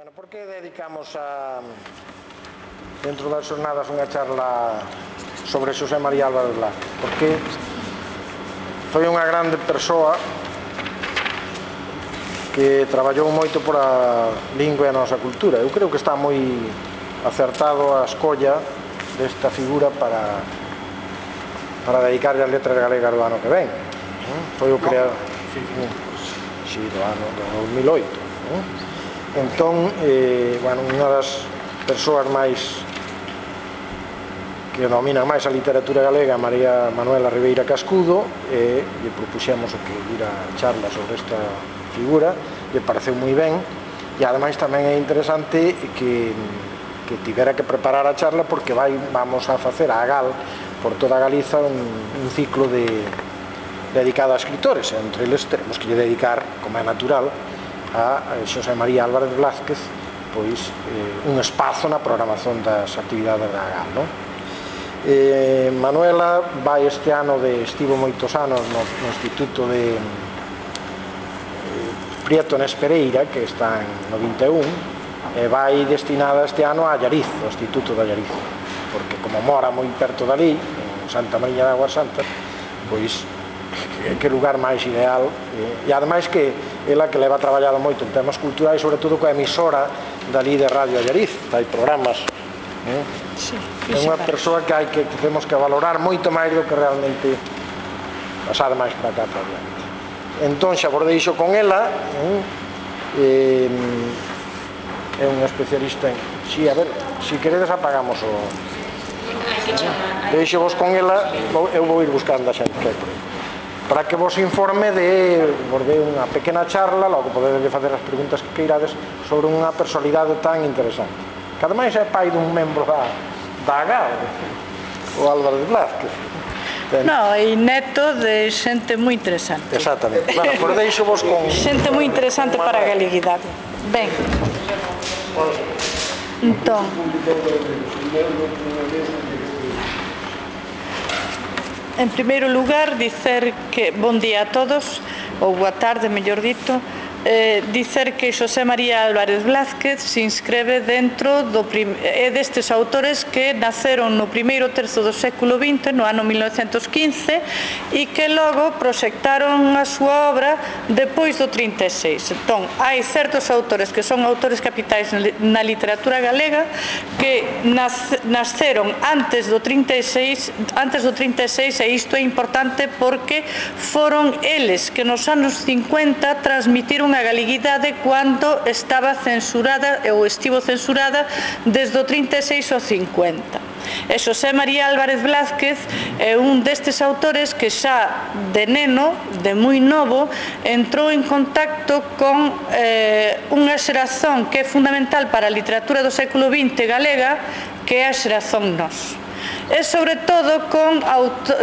Bueno, por que dedicamos dentro das xornadas unha charla sobre Xosé María Álvarez Blázquez? Porque foi unha grande persoa que traballou moito por a lingua e a nosa cultura. Eu creo que está moi acertado a escolla desta figura para dedicarlle as letras galegas do ano que ven. Foi o creador do ano 2008. Entón, unha das persoas máis que dominan máis a literatura galega, María Manuela Ribeira Cascudo, e lle propuxemos o que dira charla sobre esta figura, lle pareceu moi ben, e ademais tamén é interesante que tivera que preparar a charla porque vamos a facer a GAL por toda Galiza un ciclo dedicado a escritores, entre eles teremos que lle dedicar, como é natural, a Xosé María Álvarez Blázquez pois un espazo na programación das actividades da GAL, non? Manuela vai este ano estivo moitos anos no Instituto de Prieto Nespereira, que está no 21, e vai destinada este ano a Allariz, ao Instituto de Allariz, porque como mora moi perto dali, en Santa Mariña de Aguas Santas, pois que lugar máis ideal, e ademais que ela que leva traballado moito en temas culturais, sobre todo coa emisora dali de Radio Allariz, hai programas, é unha persoa que temos que valorar moito máis do que realmente pasar máis para cá para adiante. Entón xa vos deixo con ela, é unha especialista en... Si, a ver, si queredes apagamos o... Deixo vos con ela, eu vou ir buscando a xente que hai por aí, para que vos informe vos dé unha pequena charla, logo podedes facer as preguntas que queirades sobre unha personalidade tan interesante, que ademais é pai dun membro da GAL, o Álvarez Blázquez. No, e neto de xente moi interesante. Exactamente. Bueno, por deixo vos con... Xente moi interesante para a galeguidade. Ben. Entón... En primeiro lugar, dicer que bon día a todos, ou boa tarde, mellor dito, dicer que Xosé María Álvarez Blázquez se inscribe dentro destes autores que naceron no primeiro terzo do século XX, no ano 1915, e que logo proxectaron a súa obra depois do 36. Entón, hai certos autores que son autores capitais na literatura galega que nasceron antes do 36, e isto é importante porque foron eles que nos anos 50 transmitiron a galeguidade cando estaba censurada ou estivo censurada desde o 36 ao 50. E Xosé María Álvarez Blázquez é un destes autores que xa de neno, de moi novo, entrou en contacto con unha xeración que é fundamental para a literatura do século XX galega, que é a xeración Nós. E sobre todo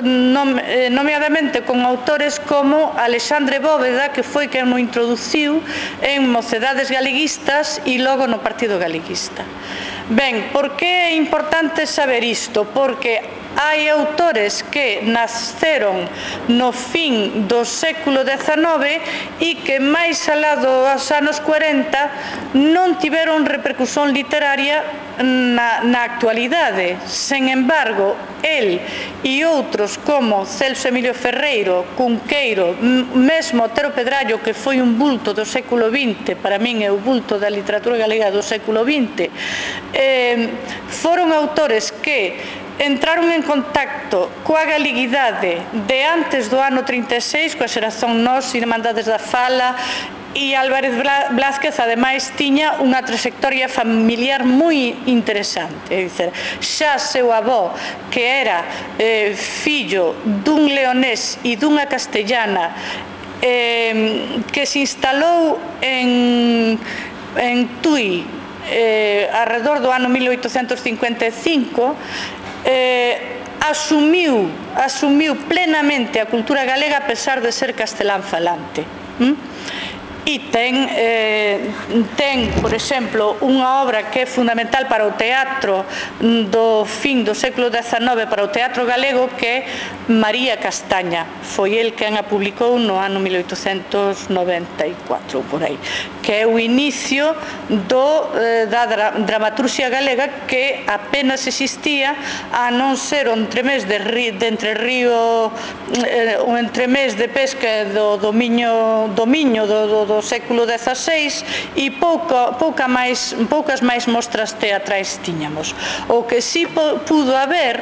nomeadamente con autores como Alexandre Bóveda, que foi quen mo introduciu en Mocedades Galeguistas e logo no Partido Galeguista. Ben, por que é importante saber isto? Porque hai autores que nasceron no fin do século XIX e que máis alá dos anos 40 non tiveron repercusión literaria na actualidade. Sen embargo, el e outros como Celso Emilio Ferreiro, Cunqueiro, mesmo Otero Pedrallo, que foi un bulto do século XX, para min é o bulto da literatura galega do século XX, foron autores que entraron en contacto coa galeguidade de antes do ano 36, coa xeración Nós, Irmandades da Fala, e Álvarez Blázquez ademais tiña unha trayectoria familiar moi interesante, é dicir, xa seu avó, que era fillo dun leonés e dunha castellana, que se instalou en Tui alrededor do ano 1855, asumiu plenamente a cultura galega a pesar de ser castelán falante. e ten, por exemplo, unha obra que é fundamental para o teatro do fin do século XIX, para o teatro galego, que é María Castaña. Foi el quen a publicou no ano 1894, por aí, que é o inicio da dramaturxia galega, que apenas existía, a non ser o entremés de Entre Río, o entremés de pesca do dominio do século XVI, e poucas máis mostras teatrais tiñamos. O que si pudo haber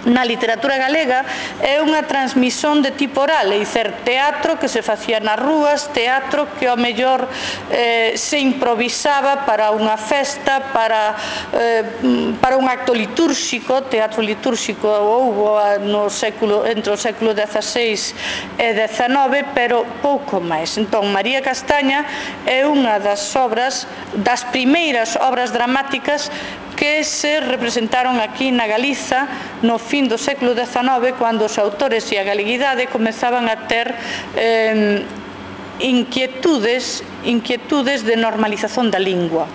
na literatura galega é unha transmisión de tipo oral, é dicer, teatro que se facía nas rúas, teatro que ao mellor se improvisaba para unha festa, para un acto litúrxico. Teatro litúrxico houbo entre o século XVI e XIX, pero pouco máis. Entón, María Castaña é unha das primeiras obras dramáticas que se representaron aquí na Galiza no fin do século XIX, cando os autores e a galeguidade comezaban a ter inquietudes de normalización da lingua.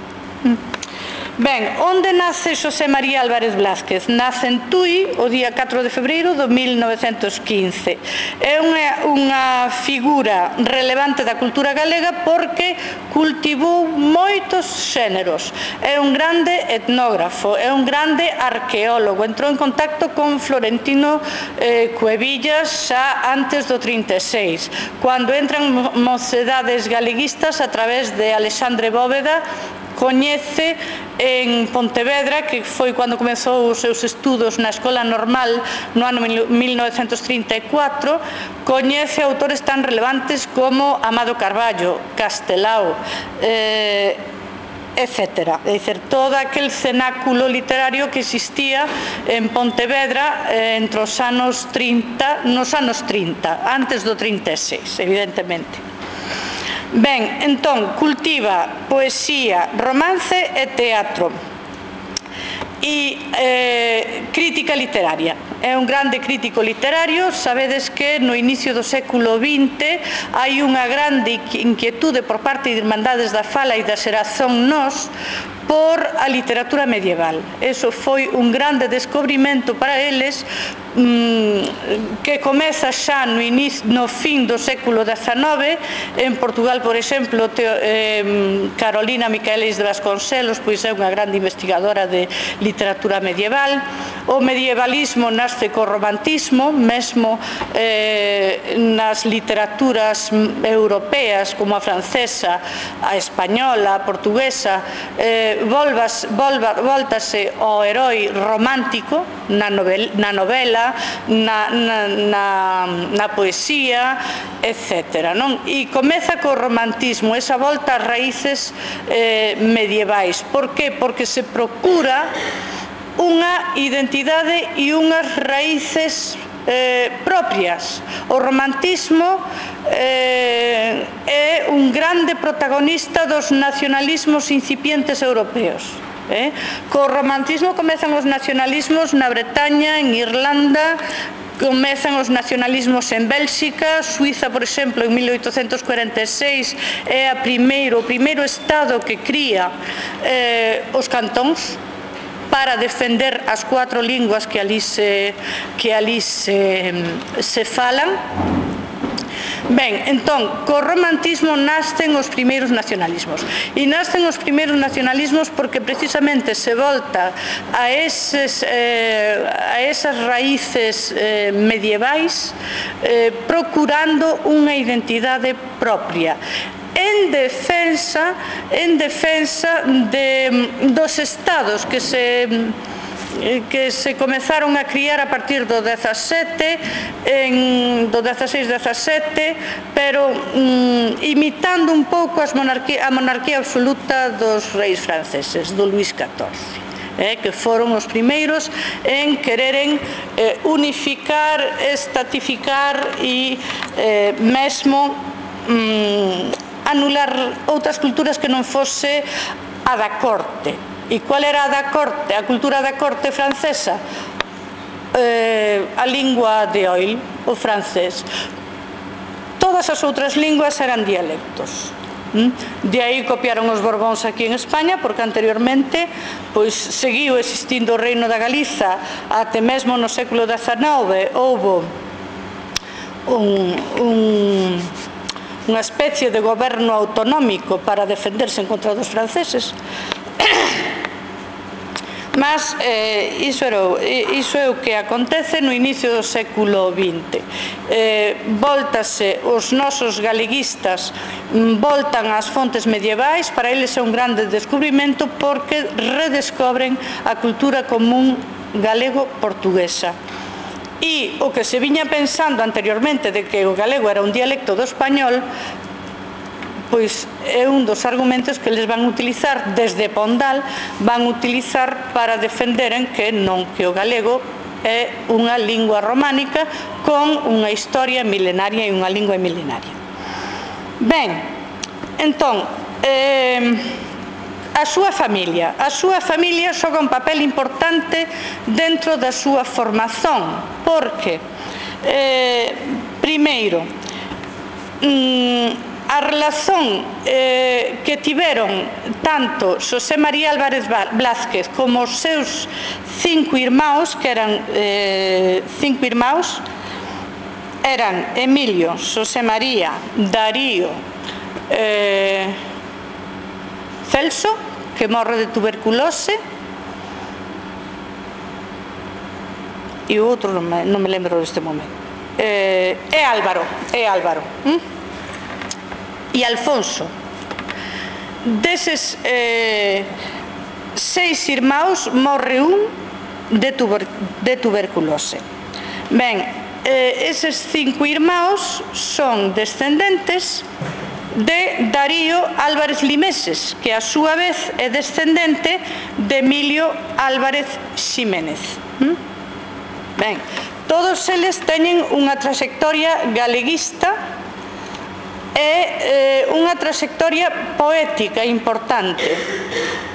Ben, onde nace Xosé María Álvarez Blázquez? Nace en Tui o día 4 de febreiro de 1915. É unha figura relevante da cultura galega porque cultivou moitos xéneros. É un grande etnógrafo, é un grande arqueólogo. Entrou en contacto con Florentino Cuevillas xa antes do 36, cando entran mocedades galeguistas a través de Alexandre Bóveda. Coñece en Pontevedra, que foi cando comezou os seus estudos na Escola Normal no ano 1934, coñece autores tan relevantes como Amado Carballo, Castelao, etc. É dicir, todo aquel cenáculo literario que existía en Pontevedra entre os anos 30, antes do 36, evidentemente. Ben, entón, cultiva poesía, romance e teatro e crítica literaria. É un grande crítico literario. Sabedes que no inicio do século XX hai unha grande inquietude por parte de Irmandades da Fala e da Xeración Nós por a literatura medieval. Eso foi un grande descubrimento para eles, que comeza xa no fin do século XIX. En Portugal, por exemplo, Carolina Micaelis de Vasconcelos pois é unha grande investigadora de literatura medieval. O medievalismo nace co romantismo, mesmo nas literaturas europeas como a francesa, a española, a portuguesa, voltase ao heroi romántico na novela, na poesía, etc. E comeza co romantismo, esa volta ás raíces medievais. Por que? Porque se procura unha identidade e unhas raíces propias. O romantismo é un grande protagonista dos nacionalismos incipientes europeos. Co romantismo comezan os nacionalismos na Bretaña, en Irlanda, comezan os nacionalismos en Bélxica. Suiza, por exemplo, en 1846 é o primeiro estado que cría os cantóns para defender as 4 linguas que ali se falan. Ben, entón, co romantismo nascen os primeiros nacionalismos. E nascen os primeiros nacionalismos porque precisamente se volta a esas raíces medievais, procurando unha identidade propia, en defensa dos estados que se comezaron a criar a partir do 16-17, pero imitando un pouco a monarquía absoluta dos reis franceses, do Luís XIV. Que foron os primeiros en quereren unificar, estatificar e mesmo anular outras culturas que non fose a da corte. E qual era a da corte? A cultura da corte francesa? A lingua de oil, o francés. Toda todas as outras linguas eran dialectos. De aí copiaron os Borbóns aquí en España, porque anteriormente pois seguiu existindo o Reino da Galiza até mesmo no século XIX. Houbo unha especie de goberno autonómico para defenderse en contra dos franceses. Mas iso é o que acontece no inicio do século XX. Voltase os nosos galeguistas, voltan ás fontes medievais. Para eles é un grande descubrimento porque redescobren a cultura común galego-portuguesa. E o que se viña pensando anteriormente de que o galego era un dialecto do español, pois é un dos argumentos que eles van utilizar desde Pondal, van utilizar para defenderen que non, que o galego é unha lingua románica con unha historia milenaria e unha lingua milenaria. Ben, entón, a súa familia xoga un papel importante dentro da súa formación, porque, primeiro, a relación que tiveron tanto Xosé María Álvarez Blázquez como os seus 5 irmãos, que eran 5 irmãos, eran Emilio, Xosé María, Darío, Celso, que morre de tuberculose, e o outro non me lembro neste momento, é Álvaro, e Alfonso. Deses 6 irmãos morre un de tuberculose. Ben, eses 5 irmãos son descendentes de Darío Álvarez Limeses, que a súa vez é descendente de Emilio Álvarez Ximénez. Ben, todos eles teñen unha trayectoria galeguista e unha trayectoria poética importante.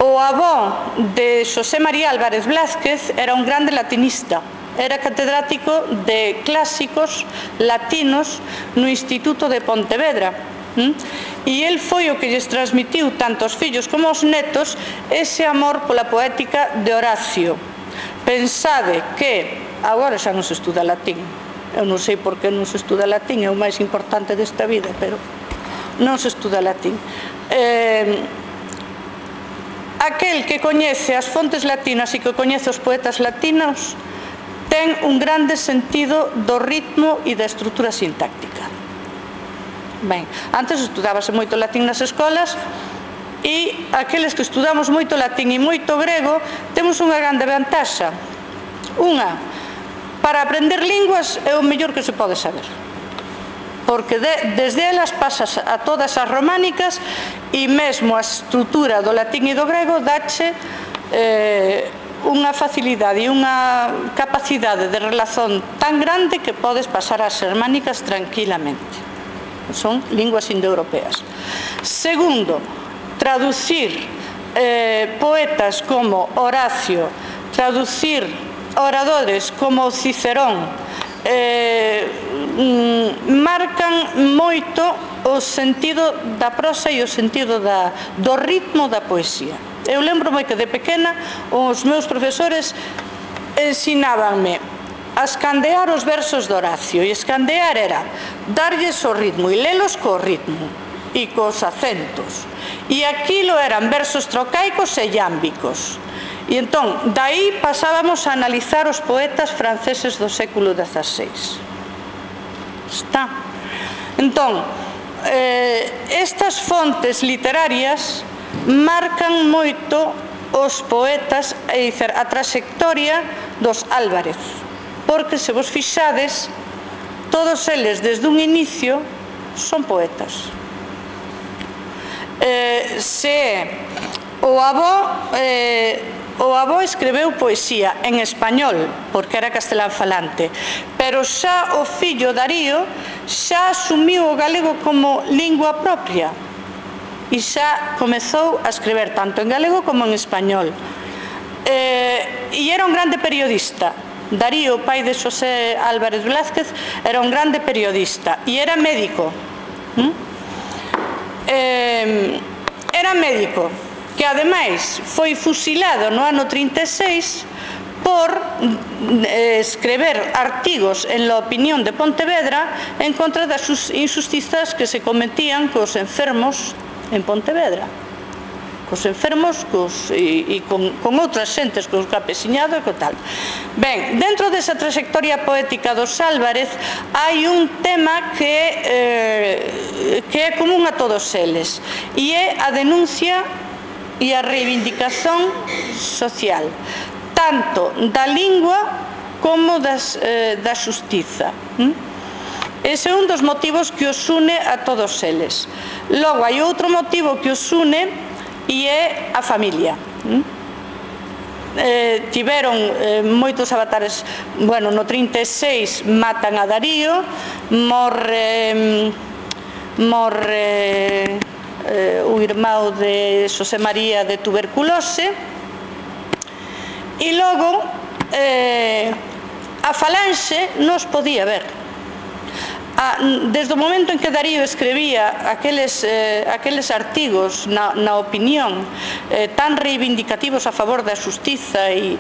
O avó de Xosé María Álvarez Blázquez era un grande latinista, era catedrático de clásicos latinos no Instituto de Pontevedra, e el foi o que lles transmitiu tanto aos fillos como aos netos ese amor pola poética de Horacio. Pensade que agora xa non se estuda latín. Eu non sei por que non se estuda latín, é o máis importante desta vida, pero non se estuda latín. Aquel que coñece as fontes latinas e que coñece os poetas latinos ten un grande sentido do ritmo e da estrutura sintáctica. Ben, antes estudábase moito latín nas escolas, e aqueles que estudamos moito latín e moito grego temos unha grande vantaxa. Unha, para aprender linguas é o mellor que se pode saber, porque desde elas pasas a todas as románicas, e mesmo a estrutura do latín e do grego dache unha facilidade e unha capacidade de relación tan grande que podes pasar ás germánicas tranquilamente. Son linguas indoeuropeas. Segundo, traducir poetas como Horacio, traducir oradores como Cicerón, marcan moito o sentido da prosa e o sentido do ritmo da poesía. Eu lembro-me que de pequena os meus profesores ensinábanme a escandear os versos de Horacio, e escandear era darlles o ritmo e lelos co ritmo e cos acentos, e aquilo eran versos trocaicos e iámbicos. E entón, dai pasábamos a analizar os poetas franceses do século XVI. Está. Entón, estas fontes literarias marcan moito os poetas, é dicir, a trayectoria dos Álvarez, porque se vos fixades, todos eles desde un inicio son poetas. O avó escreveu poesía en español, porque era castelán falante, pero xa o fillo Darío xa asumiu o galego como lingua propia e xa comezou a escrever tanto en galego como en español. E era un grande periodista. Darío, pai de Xosé Álvarez Blázquez, era un grande periodista e era médico. Era médico, que ademais foi fusilado no ano 36 por escrever artigos en La Opinión de Pontevedra en contra das injustizas que se cometían cos enfermos en Pontevedra, cos enfermos e con outras xentes, cos campesiñados e co tal. Ben, dentro desa trayectoria poética dos Álvarez hai un tema que é común a todos eles, e é a denuncia e a reivindicación social, tanto da lingua como da xustiza. Ese é un dos motivos que os une a todos eles. Logo, hai outro motivo que os une e é a familia. Tiveron moitos avatares. Bueno, no 36 matan a Darío, morre o irmão de Xosé María de tuberculose, e logo a falanxe nos podía ver. Desde o momento en que Darío escribía aqueles artigos na Opinión tan reivindicativos a favor da xustiza e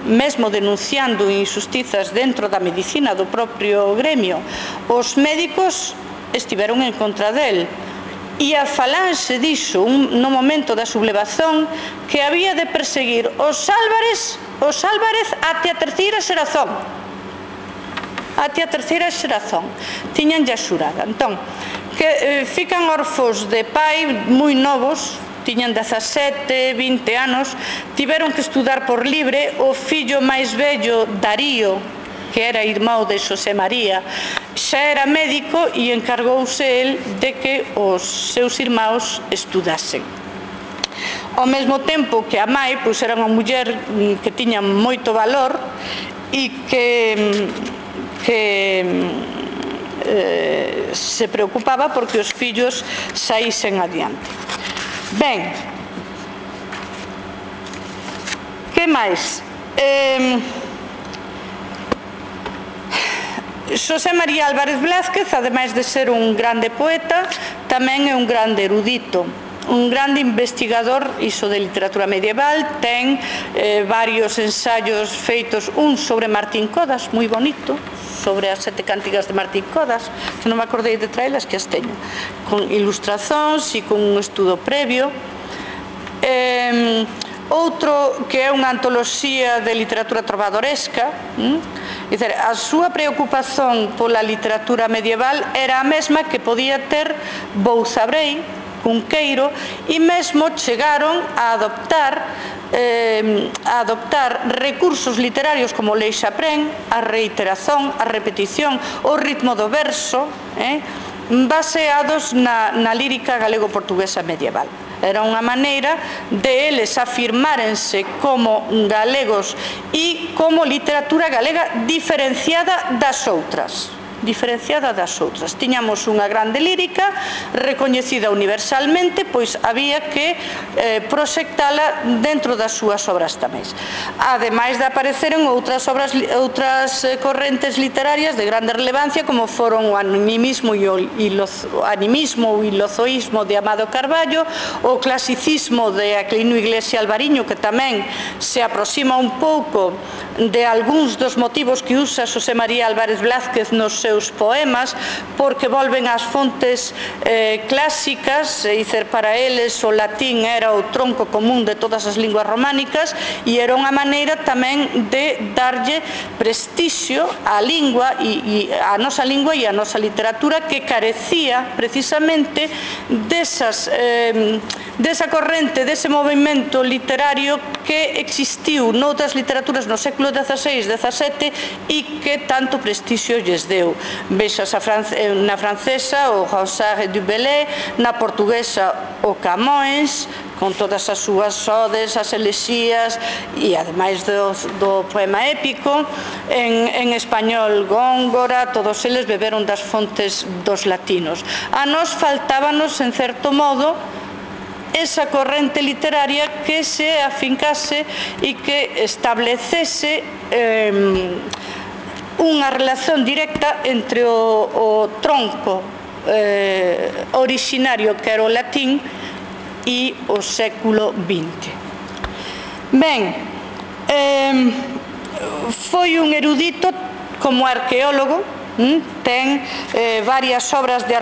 mesmo denunciando injustizas dentro da medicina do propio gremio, os médicos estiveron en contra del, e a falanxe dixo no momento da sublevación que había de perseguir os Álvarez até a terceira xeración. Até a terceira xeración tiñanlle xurada. Entón, que fican órfos de pai moi novos, tiñan 17, 20 anos, tiveron que estudar por libre. O fillo máis vello, Darío, que era irmão de Xosé María, xa era médico e encargouse el de que os seus irmãos estudasen. Ao mesmo tempo que a mãe era unha muller que tiña moito valor e que se preocupaba porque os fillos saísen adiante. Ben, que máis? Xosé María Álvarez Blázquez, ademais de ser un grande poeta, tamén é un grande erudito, un grande investigador iso de literatura medieval. Ten varios ensaios feitos, un sobre Martín Codas, moi bonito, sobre as 7 cántigas de Martín Codas, que non me acordei de traelas, que as teño, con ilustrazóns e con un estudo previo. Outro que é unha antoloxía de literatura trovadoresca. A súa preocupación pola literatura medieval era a mesma que podía ter Bouzabrei, Cunqueiro, e mesmo chegaron a adoptar recursos literarios como Lei Xaprén, a reiteración, a repetición, o ritmo do verso, baseados na lírica galego-portuguesa medieval. Era unha maneira de eles afirmárense como galegos e como literatura galega diferenciada das outras. Tiñamos unha grande lírica recoñecida universalmente, pois había que proxectala dentro das súas obras tamén. Ademais de aparecer en outras correntes literarias de grande relevancia, como foron o animismo e o ilozoísmo de Amado Carballo, o clasicismo de Aquilino Iglesia Alvariño, que tamén se aproxima un pouco de algúns dos motivos que usa Xosé María Álvarez Blázquez nos seus poemas, porque volven ás fontes clásicas, e dizer, para eles o latín era o tronco común de todas as linguas románicas e era unha maneira tamén de darlle prestixio á lingua e á nosa lingua e á nosa literatura, que carecía precisamente desa corrente, dese movimento literario que existiu noutras literaturas no século XVI, XVII e que tanto prestixio lles deu. Vexas na francesa o Ronsard du Bellay, na portuguesa o Camões, con todas as súas odes, as elexías e ademais do poema épico. En español Góngora, todos eles beberon das fontes dos latinos. A nós faltábanos, en certo modo, esa corrente literaria que se afincase e que establecese unha relación directa entre o tronco originario, que era o latín, e o século XX. Ben, foi un erudito como arqueólogo, ten varias obras de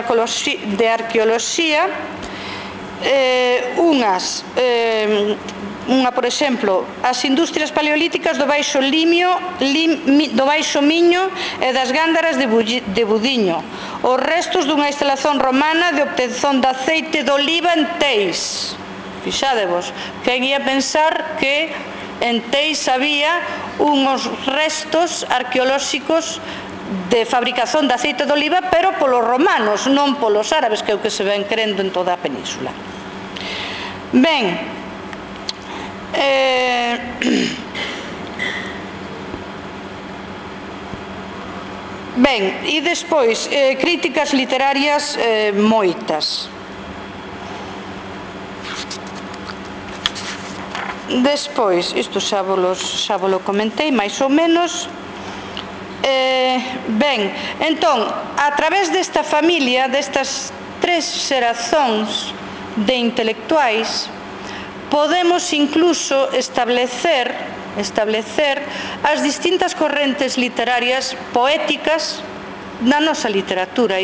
arqueoloxía, unha, por exemplo, as industrias paleolíticas do Baixo Miño e das Gándaras de Budiño, os restos dunha instalación romana de obtención de aceite de oliva en Teis. Fixadevos, quen ia pensar que en Teis había uns restos arqueolóxicos de fabricación de aceite de oliva, pero polos romanos, non polos árabes, que é o que se ven crendo en toda a península. Ben, e despois críticas literarias moitas. Despois, isto xa volo comentei máis ou menos. Ben, entón, a través desta familia, destas tres xerazóns de intelectuais, podemos incluso establecer as distintas correntes literarias poéticas na nosa literatura.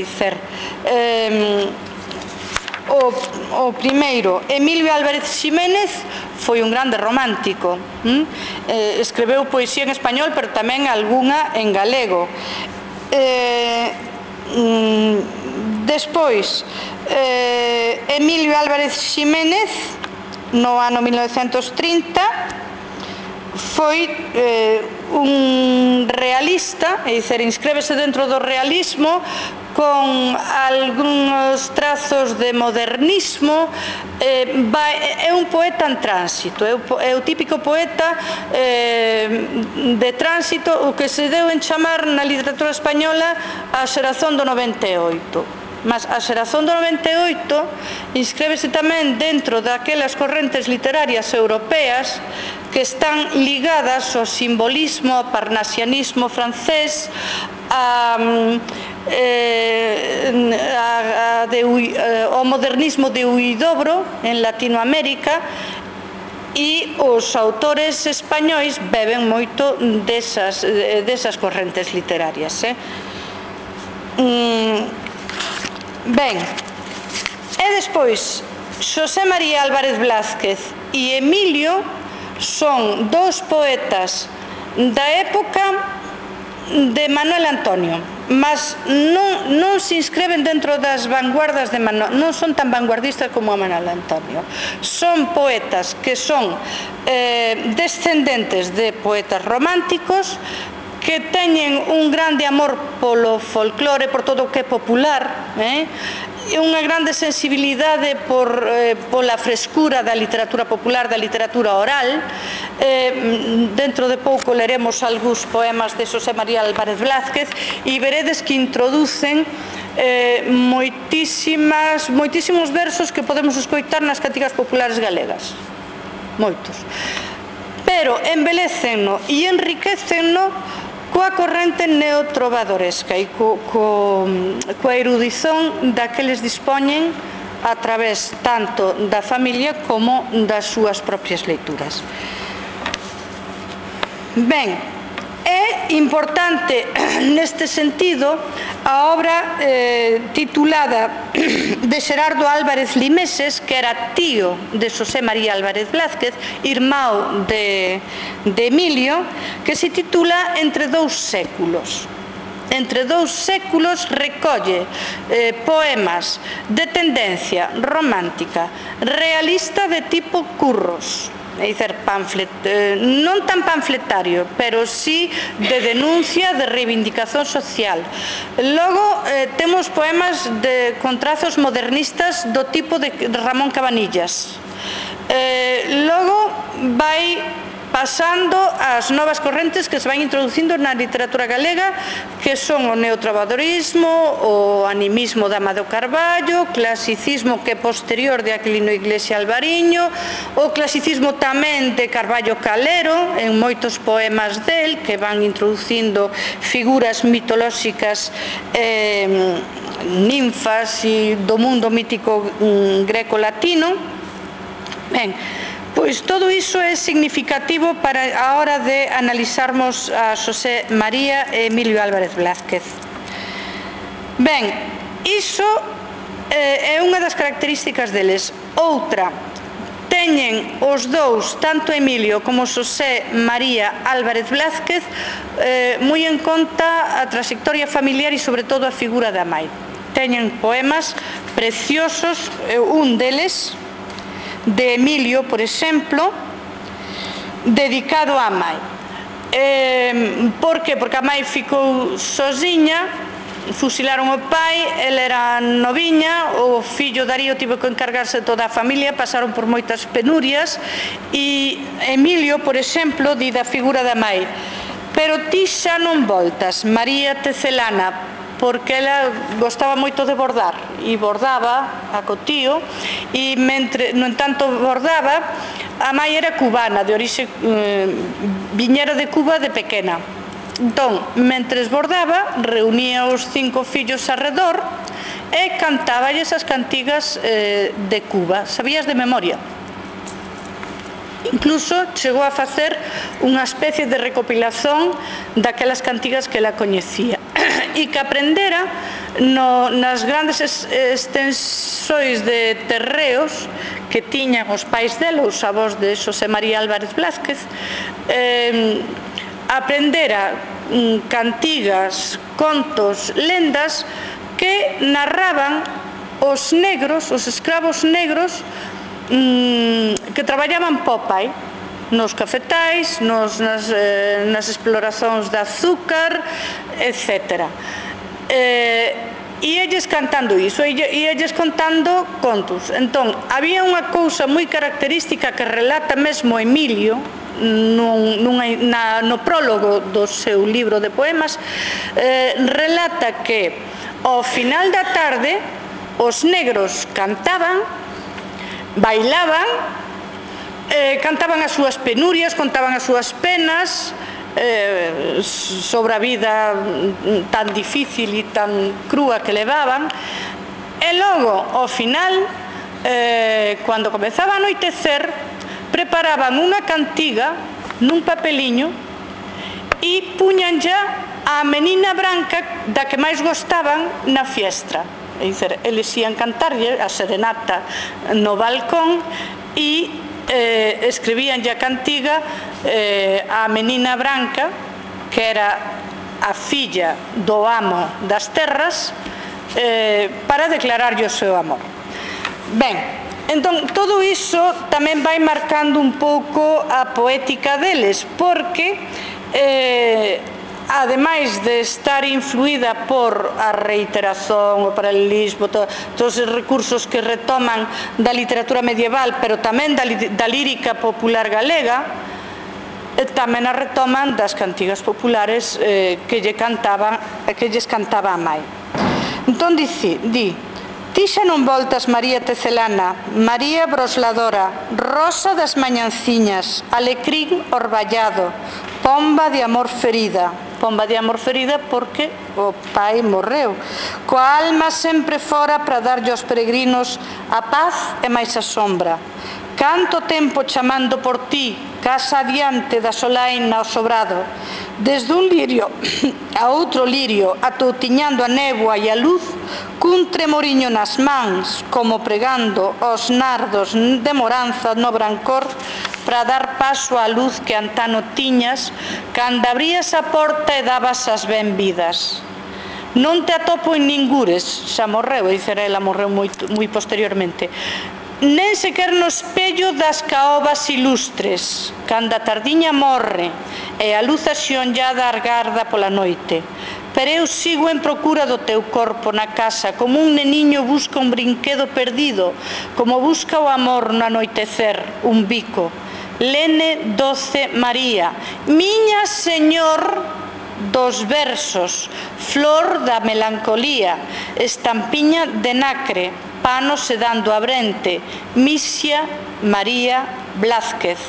O primeiro, Emilio Álvarez Ximénez, foi un grande romántico, escreveu poesía en español, pero tamén algunha en galego. Despois, Emilio Álvarez Ximénez, no ano 1930, foi un realista, é dicir, inscríbese dentro do realismo, con algúns trazos de modernismo. É un poeta en tránsito, é o típico poeta de tránsito, o que se deu en chamar na literatura española a xerazón do 98. Mas a xerazón do 98 inscríbese tamén dentro daquelas correntes literarias europeas que están ligadas ao simbolismo, ao parnasianismo francés, ao modernismo de Huidobro en Latinoamérica, e os autores españois beben moito desas correntes literarias. Ben, e despois Xosé María Álvarez Blázquez e Emilio son dous poetas da época de Manuel Antonio, mas non se inscreven dentro das vanguardas de Manuel, non son tan vanguardistas como a Manuel Antonio. Son poetas que son descendentes de poetas románticos, que teñen un grande amor polo folclore, por todo o que é popular, e unha grande sensibilidade pola frescura da literatura popular, da literatura oral. Dentro de pouco leremos algúns poemas de Xosé María Álvarez Blázquez e veredes que introducen moitísimos versos que podemos escoitar nas cantigas populares galegas, moitos, pero embelecenno e enriquecenno coa corrente neotrovadoresca e coa erudición daqueles dispoñen a través tanto da familia como das súas propias leituras. Ben, é importante neste sentido a obra titulada de Xerardo Álvarez Limeses, que era tío de Xosé María Álvarez Blázquez, irmão de Emilio, que se titula Entre dous séculos. Entre dous séculos recolle poemas de tendencia romántica, realista de tipo Curros, é dicir, non tan panfletario, pero sí de denuncia, de reivindicación social. Logo temos poemas con trazos modernistas do tipo de Ramón Cabanillas. Logo vai pasando ás novas correntes que se van introducindo na literatura galega, que son o neotrovadorismo, o animismo de Amadeo Carballo, o clasicismo que é posterior de Aquilino Iglesia Alvariño, o clasicismo tamén de Carballo Calero, en moitos poemas del, que van introducindo figuras mitolóxicas, ninfas e do mundo mítico greco-latino. Ben, pois todo iso é significativo para a hora de analizarmos a Xosé María e Emilio Álvarez Blázquez. Ben, iso é unha das características deles. Outra, teñen os dous, tanto Emilio como Xosé María Álvarez Blázquez, moi en conta a trayectoria familiar e sobre todo a figura da mai. Teñen poemas preciosos, un deles, de Emilio, por exemplo, dedicado á mai. Por que? Porque a mai ficou sozinha, fusilaron o pai, ela era noviña, o fillo Darío tivo que encargarse de toda a familia, pasaron por moitas penurias, e Emilio, por exemplo, di da figura da mai: pero ti xa non voltas, María Tecelana, porque ela gostaba moito de bordar e bordaba a cotío, e no entanto bordaba, a mai era cubana, de orixe viñera de Cuba de pequena. Entón, mentres bordaba, reunía os 5 fillos arredor e cantáballes as cantigas de Cuba, sabías de memoria. Incluso chegou a facer unha especie de recopilación daquelas cantigas que ela coñecía e que aprendera nas grandes extensões de terreos que tiñan os pais dela, os avós de Xosé María Álvarez Blázquez. Aprendera cantigas, contos, lendas que narraban os negros, os escravos negros que traballaban po pai nos cafetais, nas exploracións de azúcar, etc. E elles cantando iso, e elles contando contos. Entón, había unha cousa moi característica que relata mesmo Emilio no prólogo do seu libro de poemas. Relata que ao final da tarde os negros cantaban, bailaban, cantaban as súas penurias, contaban as súas penas sobre a vida tan difícil e tan crúa que levaban, e logo, ao final, cando comezaba a anoitecer, preparaban unha cantiga nun papeliño e puñan ya a menina branca da que máis gostaban na fiestra. É dicir, eles ian cantarlle a serenata no balcón e escribíanlle a cantiga a menina branca, que era a filla do amo das terras, para declararlle o seu amor. Ben, entón, todo iso tamén vai marcando un pouco a poética deles, porque ademais de estar influída por a reiteración, o paralelismo, todos os recursos que retoman da literatura medieval, pero tamén da lírica popular galega, tamén a retoman das cantigas populares que lles cantaba a mai. Entón di: ti xa non voltas, María Tecelana, María brosladora, rosa das mañanciñas, alecrín orballado, pomba de amor ferida porque o pai morreu, coa alma sempre fora para darlle aos peregrinos a paz e máis a sombra. Canto tempo chamando por ti, casa adiante da solaina ao sobrado, desde un lirio a outro lirio, atoutiñando a néboa e a luz, cun tremoriño nas mans, como pregando os nardos de moranza no brancor, para dar paso á luz que antano tiñas, cando abrías a porta e dabas as benvidas. Non te atopo en ningures, xa morreu, dicir, ela morreu moi posteriormente, nen sequer no espello das caobas ilustres, cando a tardiña morre e a luz axionllada argarda pola noite. Pero eu sigo en procura do teu corpo na casa, como un neniño busca un brinquedo perdido, como busca o amor no anoitecer, un bico. Lene Doce María, Miña Señor dos versos, Flor da melancolía, Estampiña de nacre, Pano sedando a brente, Misia María Blázquez,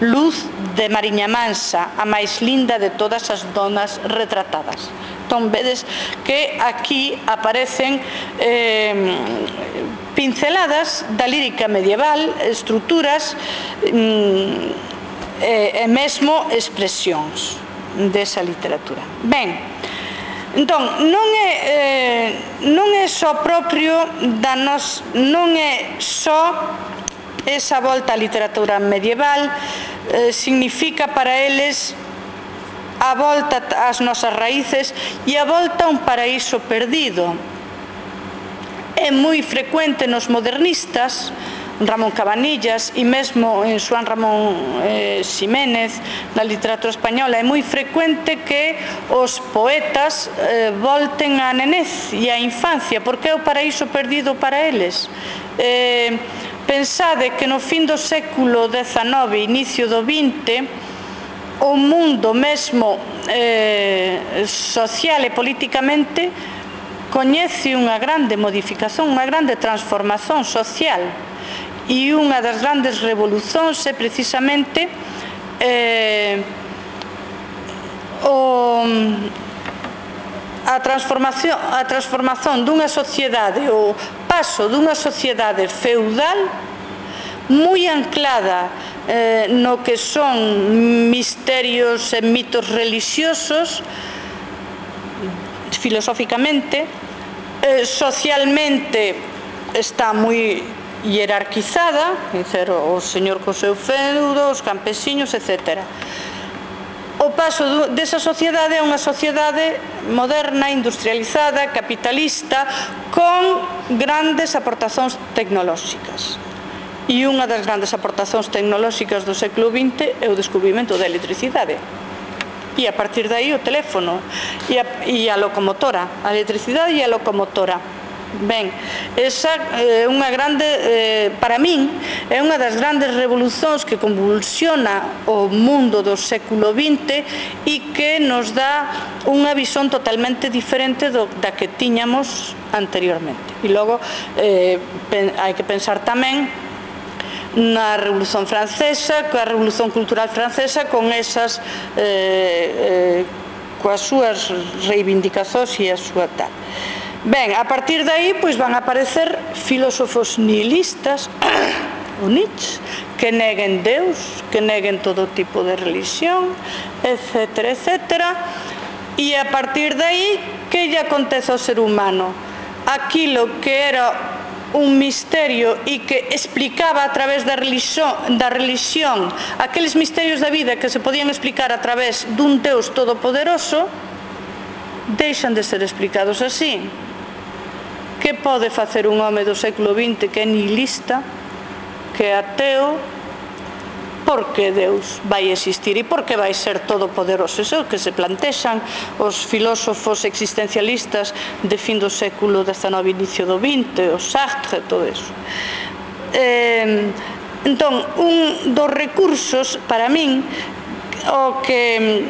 Luz de Mariña Mansa, a máis linda de todas as donas retratadas. Entón, vedes que aquí aparecen pinceladas da lírica medieval, estruturas e mesmo expresións desa literatura. Ben, entón, non é só propio da nos, non é só esa volta á literatura medieval, significa para eles a volta ás nosas raíces e a volta a un paraíso perdido. É moi frecuente nos modernistas, Ramón Cabanillas e mesmo en Xoán Ramón Ximénez, na literatura española, é moi frecuente que os poetas volten á nenez e á infancia, porque é o paraíso perdido para eles. Pensade que no fin do século XIX, inicio do XX, o mundo mesmo social e politicamente coñece unha grande modificación, unha grande transformación social. E unha das grandes revolucións é precisamente a transformación dunha sociedade, o paso dunha sociedade feudal moi anclada no que son misterios e mitos religiosos, filosóficamente, socialmente está moi hierarquizada, o señor co seu feudo, os campesiños, etc. O paso desa sociedade é unha sociedade moderna, industrializada, capitalista, con grandes aportacións tecnolóxicas. E unha das grandes aportacións tecnolóxicas do século XX é o descubrimento da electricidade. E a partir de aí o teléfono e a locomotora, a electricidade e a locomotora. Ben, esa é unha grande, para min, é unha das grandes revolucións que convulsiona o mundo do século XX e que nos dá unha visón totalmente diferente da que tiñamos anteriormente. E logo hai que pensar tamén na Revolución Francesa, coa Revolución Cultural Francesa, con esas coas súas reivindicacións e a súa tal. Ben, a partir de aí van a aparecer filósofos nihilistas, o Nietzsche, que neguen Deus, que neguen todo tipo de religión, etc., etc. E a partir de aí, que lle acontece ao ser humano? Aquilo que era un misterio e que explicaba a través da religión aqueles misterios da vida que se podían explicar a través dun Deus todopoderoso, deixan de ser explicados así. Que pode facer un home do século XX que é nihilista, que é ateo? Por que Deus vai existir e por que vai ser todopoderoso? Iso é o que se plantexan os filósofos existencialistas de fin do século XIX, inicio do XX, o Sartre, todo iso. Entón, un dos recursos, para min, o que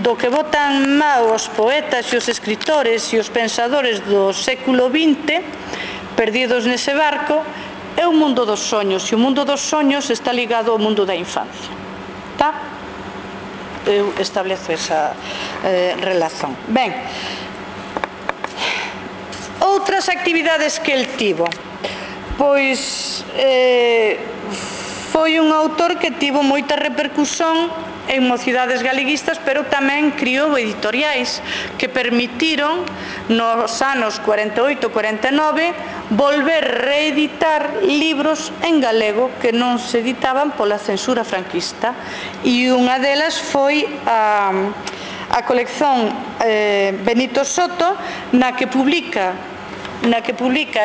do que botan mal os poetas e os escritores e os pensadores do século XX, perdidos nese barco, é o mundo dos soños, e o mundo dos soños está ligado ao mundo da infancia. Eu establezo esa relación. Ben, outras actividades que el tivo, pois foi un autor que tivo moita repercusión en mocidades galeguistas, pero tamén criou editoriais que permitiron nos anos 48-49 volver reeditar libros en galego que non se editaban pola censura franquista, e unha delas foi a colección Benito Soto, na que publica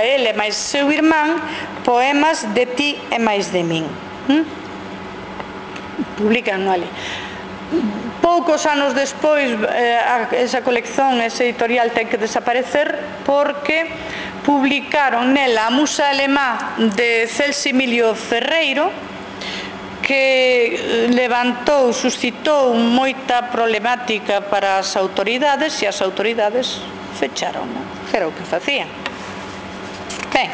ele máis seu irmán poemas de ti e máis de min. Publican ali. Poucos anos despois esa colección, ese editorial ten que desaparecer porque publicaron nela a Musa Alemá de Celso Emilio Ferreiro, que levantou, suscitou moita problemática para as autoridades e as autoridades fecharon, que era o que facían. Ben,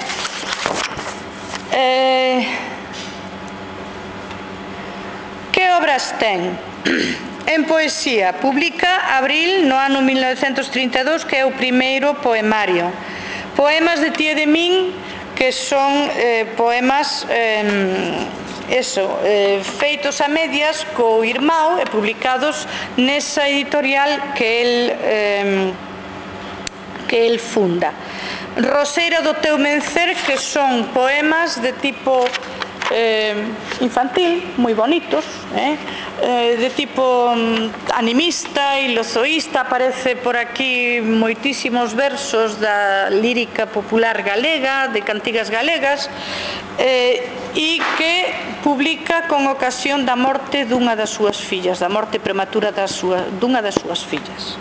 que obras ten? En poesía, publica Abril no ano 1932, que é o primeiro poemario. Poemas de Tía de Min, que son poemas feitos a medias co irmão e publicados nesa editorial que el funda. Roseira do teu mencer, que son poemas de tipo infantil, moi bonitos, de tipo animista, ilozoísta. Aparece por aquí moitísimos versos da lírica popular galega, de cantigas galegas, e que publica con ocasión da morte dunha das súas fillas, da morte prematura dunha das súas fillas.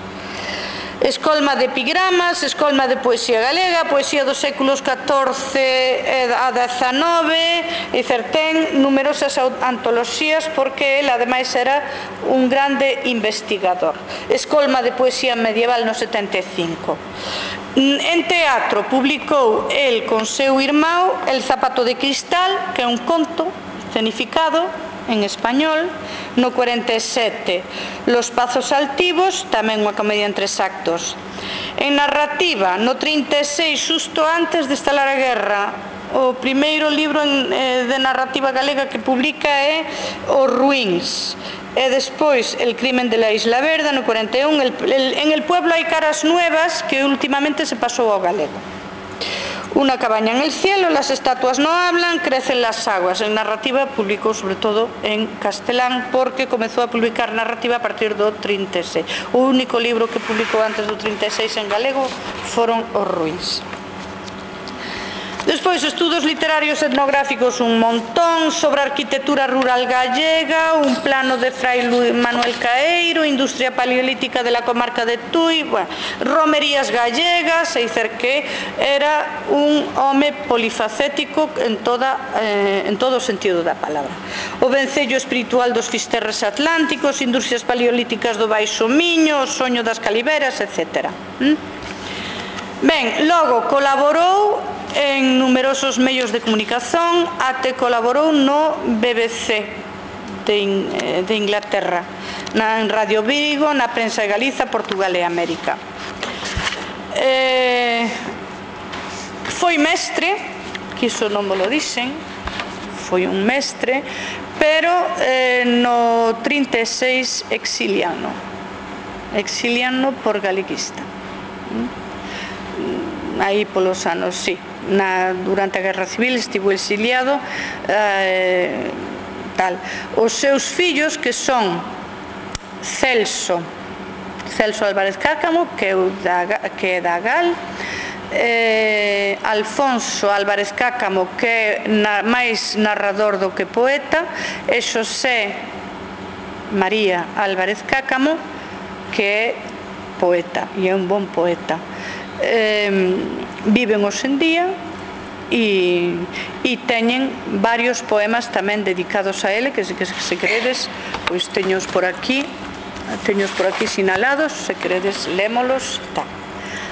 Escolma de epigramas, escolma de poesía galega, poesía dos séculos XIV a XIX, e ten numerosas antoloxías porque ele ademais era un grande investigador. Escolma de poesía medieval no 75. En teatro publicou el con seu irmão El zapato de cristal, que é un conto escenificado en español, no 47. Los pazos altivos, tamén unha comedia en 3 actos. En narrativa, no 36, xusto antes de estalar a guerra, o primeiro libro de narrativa galega que publica é Os ruíns. E despois El crimen de la Isla Verde, no 41. En El pueblo hai caras nuevas, que últimamente se pasou ao galego. Una cabaña en el cielo, Las estatuas no hablan, Crecen las aguas. En narrativa publicou sobre todo en castelán, porque comezou a publicar narrativa a partir do 36. O único libro que publicou antes do 36 en galego foron Os ruíns. Despois, estudos literarios etnográficos un montón, sobre arquitectura rural gallega, un plano de Fray Manuel Caeiro, industria paleolítica de la comarca de Tui, romerías gallegas, e dicer que era un home polifacético en todo o sentido da palabra. O vencello espiritual dos fisterres atlánticos, industrias paleolíticas do Baixo Miño, o soño das caliveras, etc. Ben, logo colaborou en numerosos medios de comunicación, até colaborou no BBC de Inglaterra, en Radio Vigo, na Prensa de Galiza, Portugal e América. Foi mestre, que iso non me lo dixen, foi un mestre, pero no 36 exiliano por galeguista. Aí polos anos, sí, durante a Guerra Civil estivo exiliado, tal. Os seus fillos, que son Celso Álvarez Cáccamo, que é da GAL, Alfonso Álvarez Cáccamo, que é máis narrador do que poeta, e Xosé María Álvarez Cáccamo, que é poeta, e é un bon poeta. Viven hoxe en día e teñen varios poemas tamén dedicados a ele, que se queredes, pois teños por aquí sinalados, se queredes lémolos, tal.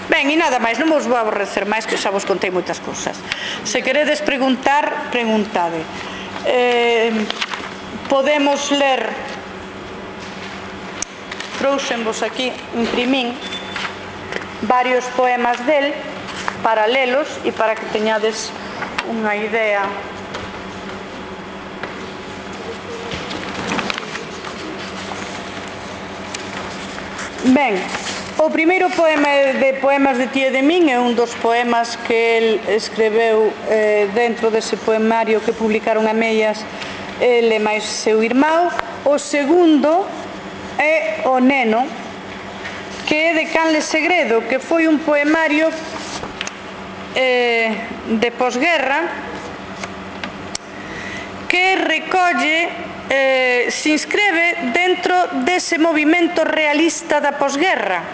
Ben, e nada máis, non vos vou aborrecer máis, que xa vos contei moitas cousas. Se queredes preguntar, preguntade. Podemos ler, trouxenvos aquí, imprimín varios poemas del, para lelos e para que teñades unha idea. Ben, o primeiro poema de Poemas de Tía de Min é un dos poemas que el escreveu dentro dese poemario que publicaron a medias ele máis seu irmão. O segundo é O neno, que é de Canle Segredo, que foi un poemario de posguerra que recolle, se inscribe dentro dese movimento realista da posguerra.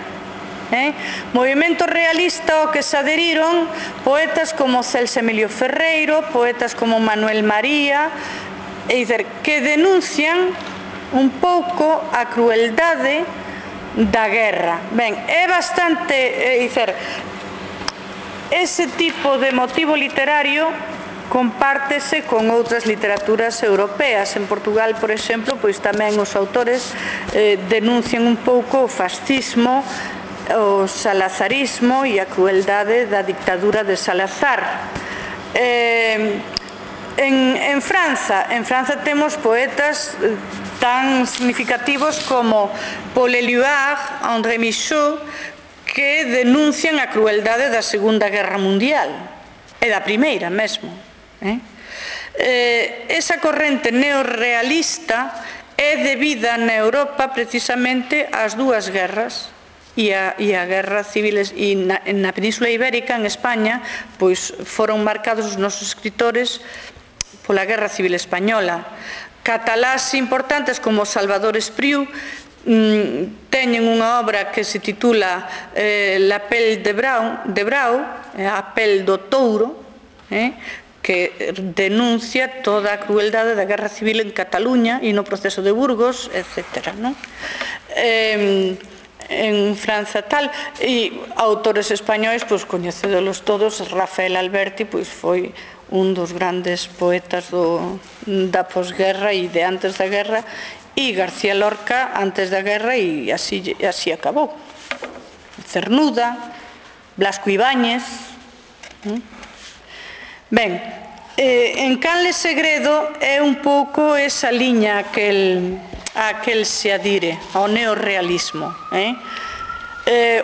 Movimento realista ao que se adheriron poetas como Celso Emilio Ferreiro, poetas como Manuel María, é dizer, que denuncian un pouco a crueldade da guerra. Ben, é bastante, é dizer, ese tipo de motivo literario compártese con outras literaturas europeas. En Portugal, por exemplo, pois tamén os autores denuncian un pouco o fascismo, o salazarismo e a crueldade da dictadura de Salazar. En França temos poetas tan significativos como Paul Éluard, André Michaud, que denuncian a crueldade da Segunda Guerra Mundial e da Primeira mesmo. Esa corrente neorrealista é debida na Europa precisamente ás dúas guerras e a guerra civil, e na Península Ibérica, en España, pois foron marcados os nosos escritores pola Guerra Civil Española. Catalás importantes como Salvador Espriu teñen unha obra que se titula La Pelle de Brau, a pel do touro, que denuncia toda a crueldade da Guerra Civil en Cataluña e no proceso de Burgos, etc. En França tal, e autores españois, pois coñecedolos todos. Rafael Alberti pois foi un dos grandes poetas da posguerra e de antes da guerra, e García Lorca antes da guerra, e así acabou. Cernuda, Blasco Ibáñez. Ben, en Canle Segredo é un pouco esa liña a que el se adire, ao neorrealismo.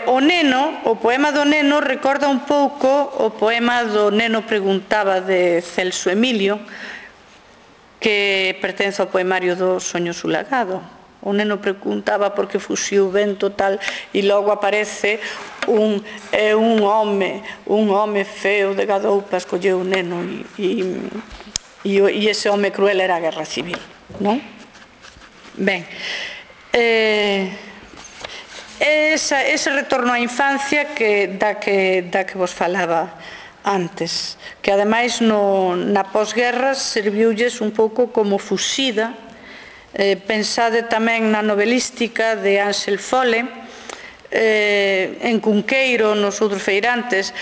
O Neno, o poema do Neno, recorda un pouco o poema do Neno Preguntaba de Celso Emilio, que pertence ao poemario do Soño Sulagado. O Neno preguntaba por que fuxiu o vento tal, e logo aparece un home feo de gadoupas, colleu o neno, e ese home cruel era a Guerra Civil, non? Ben, ese retorno á infancia da que vos falaba antes, que ademais na posguerra serviulles un pouco como fuxida. Pensade tamén na novelística de Ángel Fole, en Cunqueiro, nos outros feirantes,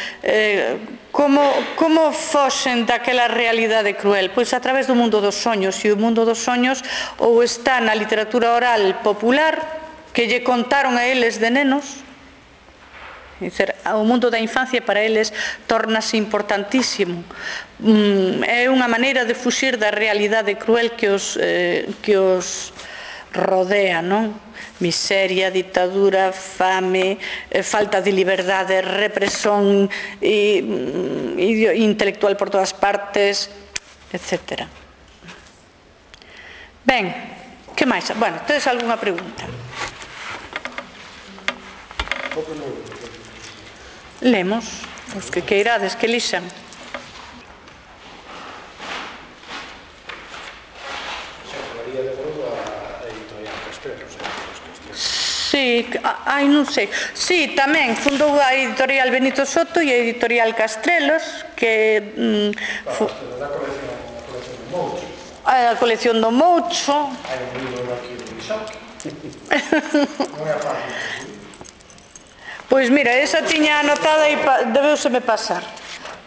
como foxen daquela realidade cruel? Pois a través do mundo dos soños, e o mundo dos soños ou está na literatura oral popular que lle contaron a eles de nenos. O mundo da infancia para eles tórnase importantísimo. É unha maneira de fuxir da realidade cruel que os rodea, non? Miseria, ditadura, fame, falta de liberdade, represión intelectual por todas partes, etc. Ben, que máis? Bueno, tedes algunha pregunta? Lemos, os que queirades que lixan. Sí, non sei. Sí, tamén fundou a editorial Benito Soto e a editorial Castrelos, que a colección do Moucho. Hai un libro aquí do Isaki. Non é fácil. Pois mira, esa tiña anotada e debeuseme pasar.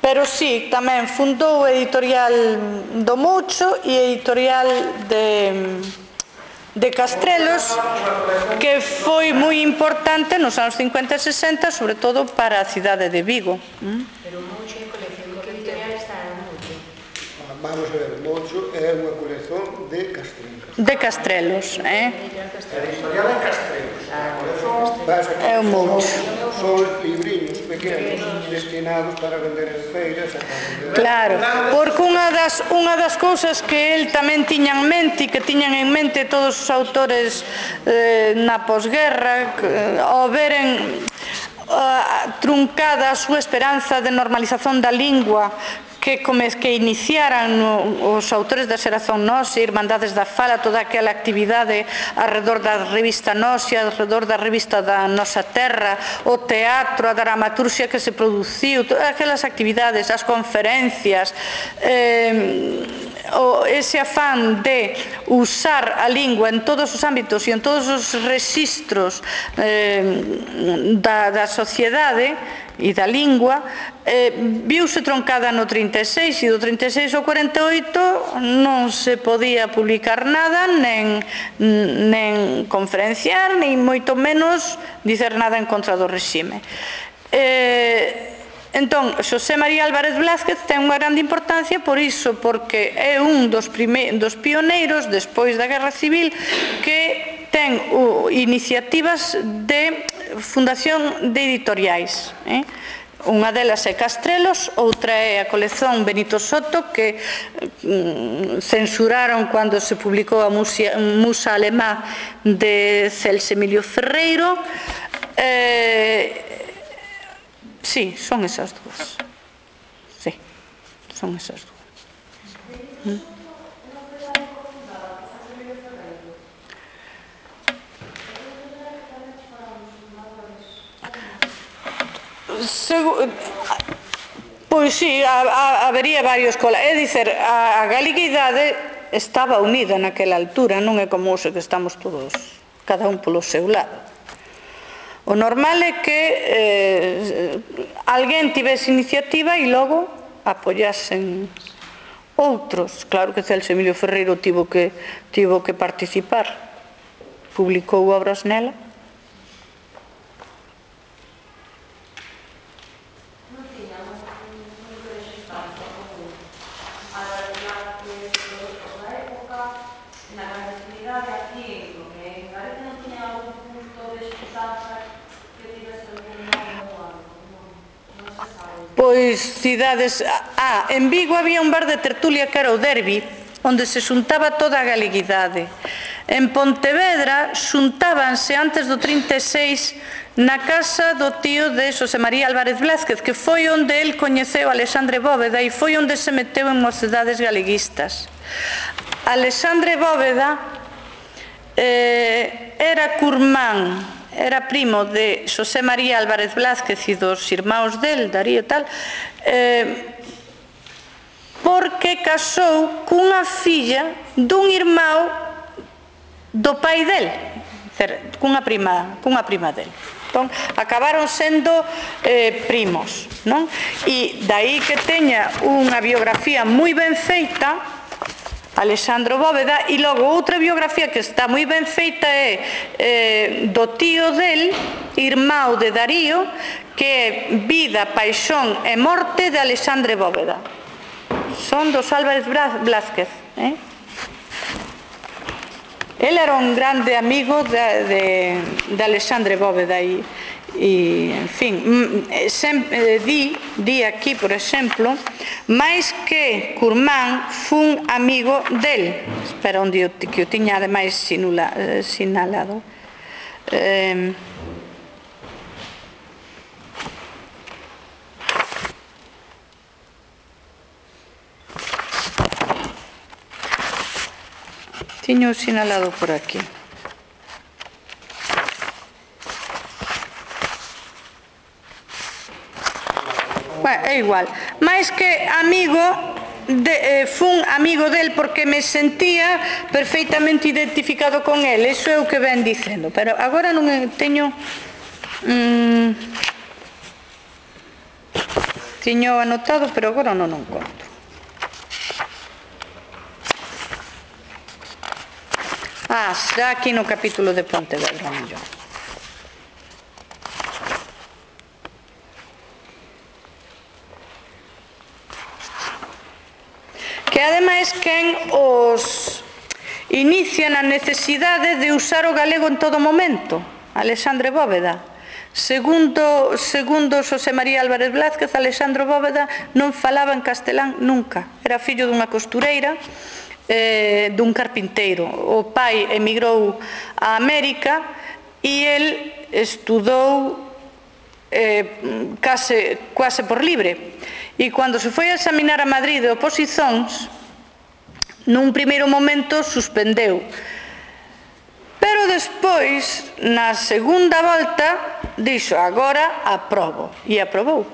Pero sí, tamén fundou a editorial do Moucho e a editorial de Castrelos, que foi moi importante nos anos 50 e 60, sobre todo para a cidade de Vigo. Pero o Moucho é colección, que editorial está o Moucho? Vamos a ver, o Moucho é unha colección de Castrelos. De Castrelos, A editorial é Castrelos. É o Moucho. Son libriños pequenos destinados para vender en feiras. Claro, porque unha das cousas que el tamén tiña en mente, e que tiñan en mente todos os autores na posguerra, ao veren truncada a súa esperanza de normalización da lingua que iniciaran os autores da xeración Nós, Irmandades da Fala, toda aquela actividade arredor da revista Nós e arredor da revista da Nosa Terra, o teatro, a dramaturxia que se produciu, todas aquelas actividades, as conferencias, ese afán de usar a lingua en todos os ámbitos e en todos os rexistros da sociedade e da lingua, viuse troncada no 36, e do 36 ao 48 non se podía publicar nada, nen conferenciar, nin moito menos dicer nada en contra do regime. Entón, Xosé María Álvarez Blázquez ten unha grande importancia por iso, porque é un dos pioneiros despois da Guerra Civil que ten iniciativas de fundación de editoriais. Unha delas é Castrelos, outra é a colección Benito Soto, que censuraron cando se publicou a Musa Alemá de Celso Emilio Ferreiro. Sí, son esas dúas. Sí, son esas dúas. Pois sí, habería varios colas. É dicer, a galeguidade estaba unida naquela altura, non é como hoxe que estamos todos, cada un polo seu lado. O normal é que alguén tivese iniciativa e logo apoyasen outros. Claro que Celso Emilio Ferreiro tivo que participar, publicou obras nela. Pois cidades... en Vigo había un bar de tertulia que era o Derbi, onde se xuntaba toda a galeguidade. En Pontevedra xuntábanse antes do 36 na casa do tío de Xosé María Álvarez Blázquez, que foi onde el coñeceu a Alexandre Bóveda e foi onde se meteu en mocedades galeguistas. Alexandre Bóveda era curmán, era primo de Xosé María Álvarez Blázquez e dos irmáns del, Darío e tal, porque casou cunha filla dun irmão do pai del, cunha prima del. Entón, acabaron sendo primos, non? E dai que teña unha biografía moi ben feita Alexandre Bóveda, e logo outra biografía que está moi ben feita é do tío del, irmão de Darío, que é Vida, Paixón e Morte de Alexandre Bóveda. Son dos Álvarez Blázquez. El era un grande amigo de Alexandre Bóveda e, en fin, di aquí, por exemplo, máis que curmán fun amigo del. Espera, onde que o tiña ademais sinalado. Tiño sinalado por aquí. Bueno, é igual. Mais que amigo, fun amigo del porque me sentía perfeitamente identificado con el. Iso é o que ven dicendo. Pero agora non teño... Tiño anotado, pero agora non o encontro. Será aquí no capítulo de Pontevedra, mellor. Que ademais quen os inicia na necesidade de usar o galego en todo momento, Alexandre Bóveda. Segundo Xosé María Álvarez Blázquez, Alexandre Bóveda non falaba en castelán nunca. Era fillo dunha costureira, dun carpinteiro. O pai emigrou a América e el estudou quase por libre. E cando se foi a examinar a Madrid de oposizóns, nun primeiro momento suspendeu. Pero despois, na segunda volta, dixo, agora aprobo. E aprobou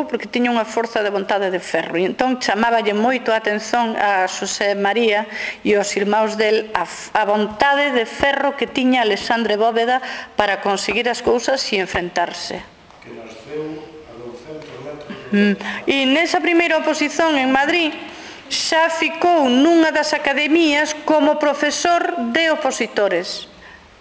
porque tiña unha forza de vontade de ferro. E entón chamáballe moito a atención a Xosé María e aos irmáns del a vontade de ferro que tiña Alexandre Bóveda para conseguir as cousas e enfrentarse. Que nasceu a 200 metros. E nesa primeira oposición en Madrid xa ficou nunha das academías como profesor de opositores.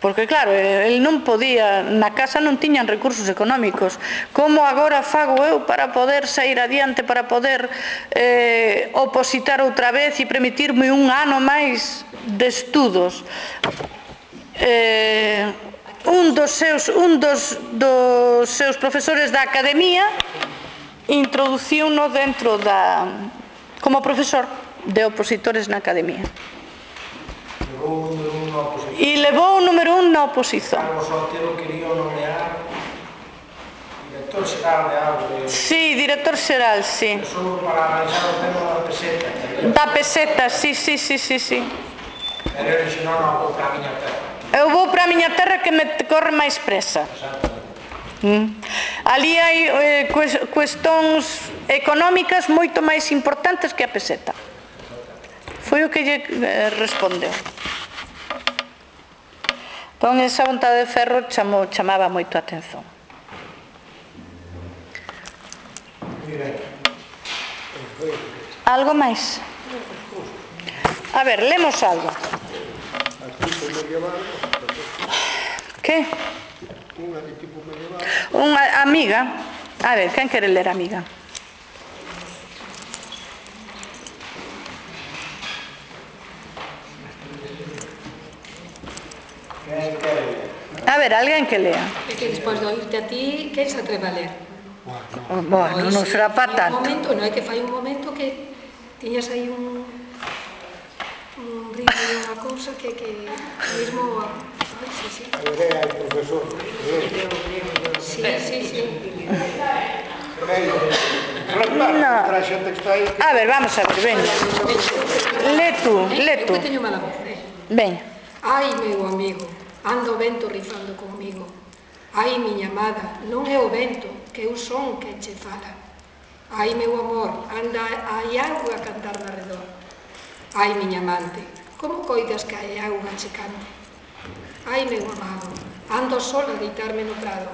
Porque claro, el non podía, na casa non tiñan recursos económicos. Como agora fago eu para poder sair adiante, para poder opositar outra vez e permitirme un ano máis de estudos? Un dos seus profesores da academia introduciuno dentro como profesor de opositores na academia. E levou o número 1 na oposición. Carlos Otero quería nomear director xeral de algo. Sí, director xeral, sí. Só para analizar o tema da peseta. Da peseta, sí. Pero ele xe non vou para a miña terra. Eu vou para a miña terra que me corre máis presa. Ali hai cuestións económicas moito máis importantes que a peseta. Foi o que lle respondeu. Con esa vontade de ferro chamaba moito a atención. Algo máis? A ver, lemos algo. Que? Unha de tipo medieval. Unha amiga. A ver, quen quere ler amiga? A ver, alguén que lea. É que despois de oírte a ti, quen se atreve a ler? Bueno, non será para tanto. Non é que fai un momento que tiñas aí un ritmo e unha cousa que mesmo... Sí. A idea é profesor. Sí. Para a xente que está aí... A ver, vamos a ver, veña. Le tú. Eu que teño mala voz, Veña. Ai, meu amigo, anda o vento rifando comigo. Ai, miña amada, non é o vento, que eu son quen che fala. Ai, meu amor, anda hai auga a cantar de arredor. Ai, miña amante, como coidas que hai auga che cante? Ai, meu amado, ando sola a deitarme no prado.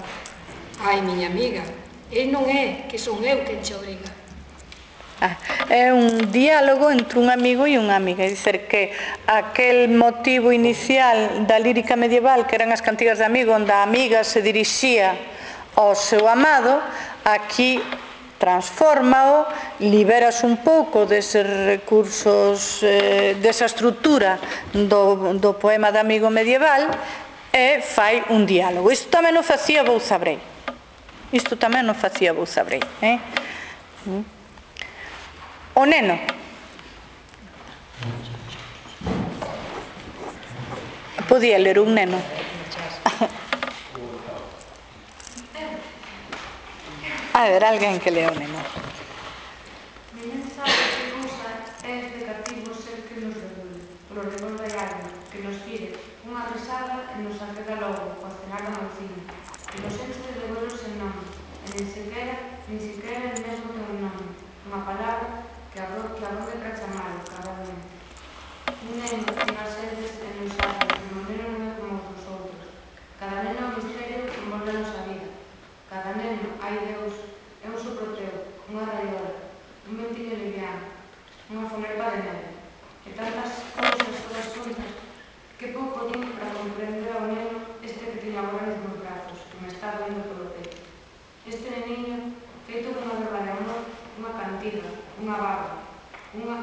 Ai, miña amiga, el non é, que son eu quen che obriga. É un diálogo entre un amigo e unha amiga, é dizer que aquel motivo inicial da lírica medieval, que eran as cantigas de amigo, onde a amiga se dirixía ao seu amado, aquí transfórmao, liberas un pouco deses recursos, desa estrutura do poema de amigo medieval e fai un diálogo. Isto tamén o facía Bouzabrei. O neno. Podía ler un neno. A ver, alguén que lea o neno. Ninguén sabe que cousa é este cativo ser que nos regule, polo revolve algo, que nos tire unha risada e nos aqueda logo, ao cenar da mancina, que nos enche de vuelos sen nome, e nin siquera el mesmo ten un nome, unha palabra que abonde para chamalo, cabamente. Un neno chega a seres e nos sabe, que o neno non é como os outros. Cada neno é un misterio que envolve a nosa vida. Cada neno, ai Deus, é un soproteo, unha raiola, un ventiño liviano, unha fonepa de neve. E tantas cousas todas xuntas que pouco din para comprender ao neno este que teño agora nos meus brazos, que me está doendo polo peito. Este neniño, feito dunha verba de amor, unha cantiga, unha baba,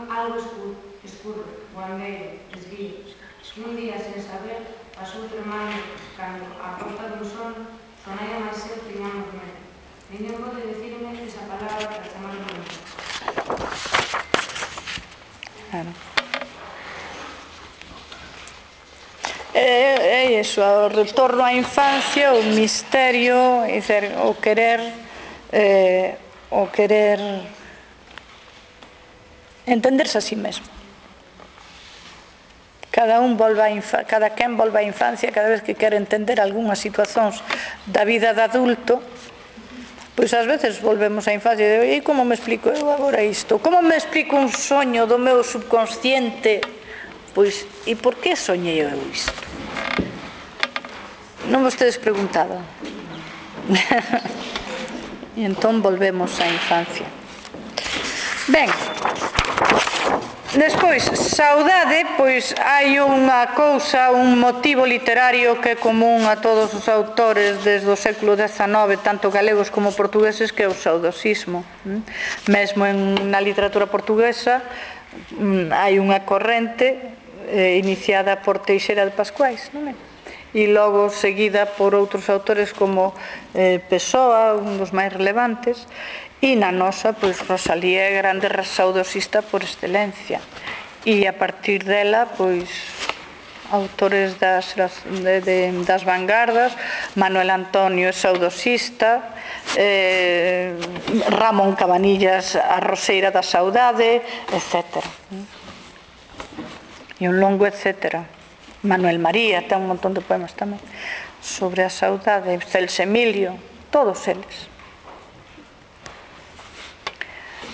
algo escuro, guandeiro, esguío, que un día, sen saber, pasou tremando cando, a porta dun sono, sonai a máis ser tiñamos medo. Ninguén pode dicirme esa palabra para chamarme medo. Claro. É iso, o retorno á infancia, o misterio, o querer entenderse a sí mesmo. cada quen volve á infancia cada vez que quere entender algunhas situacións da vida de adulto, pois ás veces volvemos á infancia e digo, e como me explico eu agora isto? Como me explico un soño do meu subconsciente? Pois, e por que soñei eu isto? Non vos tedes preguntado? E entón volvemos á infancia. Ben, despois, saudade, pois hai unha cousa, un motivo literario que é común a todos os autores desde o século XIX, tanto galegos como portugueses, que é o saudosismo. Mesmo na literatura portuguesa hai unha corrente iniciada por Teixeira de Pascuais, non é? E logo seguida por outros autores como Pessoa, un dos máis relevantes, e na nosa, pois, Rosalía é grande saudosista por excelencia, e a partir dela, pois, autores das vanguardas, Manuel Antonio é saudosista, Ramón Cabanillas a Roseira da Saudade, etc. E un longo etcétera. Manuel María ten un montón de poemas tamén sobre a saudade, Celso Emilio, todos eles.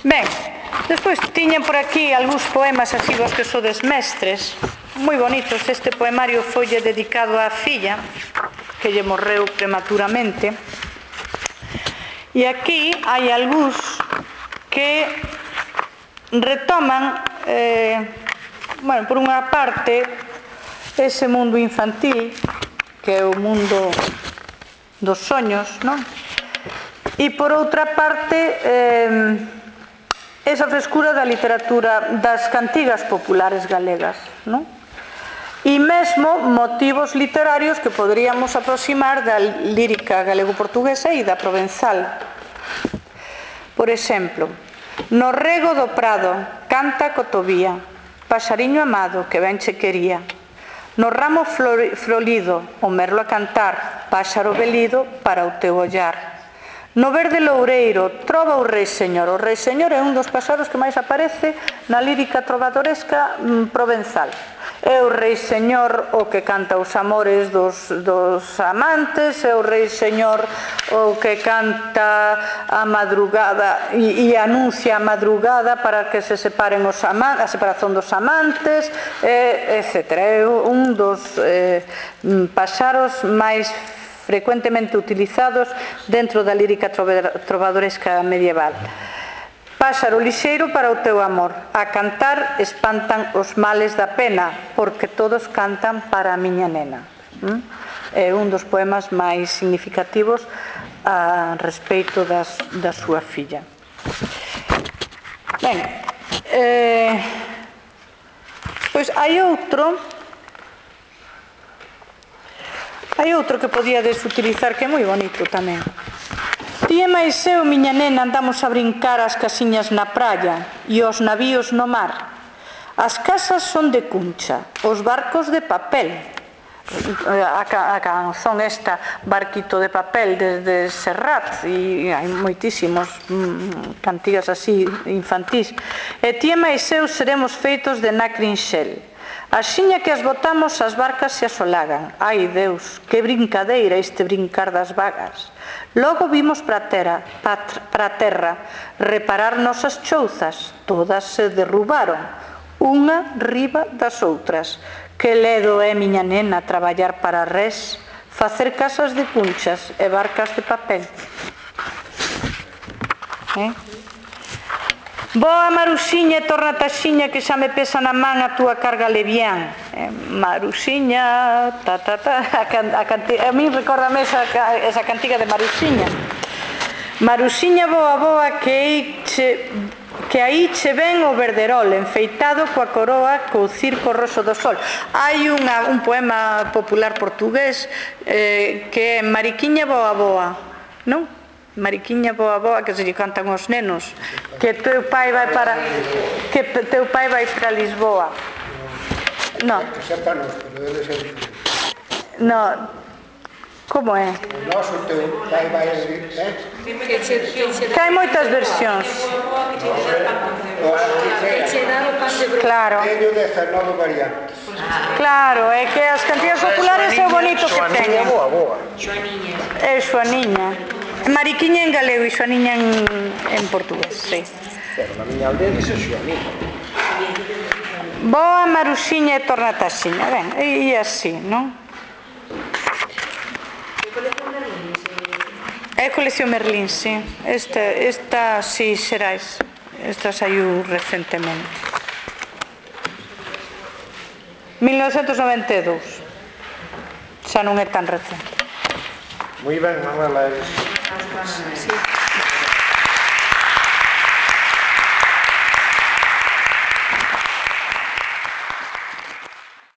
Ben, despois tiñen por aquí algúns poemas así vos que sodes mestres, moi bonitos. Este poemario foille dedicado á filla que lle morreu prematuramente, e aquí hai algúns que retoman por unha parte ese mundo infantil que é o mundo dos soños, non? E por outra parte esa frescura da literatura das cantigas populares galegas, non? E mesmo motivos literarios que poderíamos aproximar da lírica galego-portuguesa e da provenzal. Por exemplo, no rego do prado canta a cotovía, paxariño amado que ben che quería. No ramo florido o merlo a cantar, páxaro velido para o teu ollar. No verde loureiro trova o rei señor. O rei señor é un dos paxaros que máis aparece na lírica trovadoresca provenzal. É o rei señor o que canta os amores dos amantes, é o rei señor o que canta a madrugada e anuncia a madrugada para que se separen a separación dos amantes, etc. É un dos paxaros máis frecuentemente utilizados dentro da lírica trovadoresca medieval. Páxaro lixeiro para o teu amor, a cantar espantan os males da pena, porque todos cantan para a miña nena. É un dos poemas máis significativos a respeito da súa filla. Ben, pois hai outro que podíades utilizar que é moi bonito tamén. Ti e máis eu, miña nena, andamos a brincar as casiñas na praia e os navíos no mar. As casas son de cuncha, os barcos de papel. A canzón esta, Barquito de papel, desde Serrat, e hai moitísimos cantigas así infantís. E ti e máis eu seremos feitos de nacrinxel. Axiña que as botamos, as barcas se asolagan. Ai, Deus, que brincadeira este brincar das vagas. Logo vimos para a terra reparar nosas chouzas. Todas se derrubaron, unha riba das outras. Que ledo é, miña nena, traballar para res, facer casas de cunchas e barcas de papel. Boa, Maruxiña, torna taxiña que xa me pesa na man a túa carga levián. Maruxiña, a mí recórdame esa cantiga de Maruxiña. Maruxiña, boa, boa, que aí che ven o verderol, enfeitado coa coroa co circo roso do sol. Hai un poema popular portugués que é Mariquiña, boa, boa, non? Mariquiña, boa, boa, que se lle cantan os nenos, que teu pai vai para Lisboa. Non. Non. Como é? O noso teu pai vai a decir, Que hai moitas versións. o arquitecto che dá o pan de broto. Claro, teño 19 variantes. claro, é que as cantigas populares é o bonito que Xoaniña, teñen. boa, boa. É Xoaniña. Mariquiña en galego e Xoaniña en portugués, sí. Pero na miña aldea dice Xoaniña. Boa, Maruxiña e Tornataxiña, ben, e así, non? É colección Merlín, sí. Esta sí, Xerais. Esta saiu recentemente. 1992. Xa non é tan recente. Moi ben, Manuela. Sí.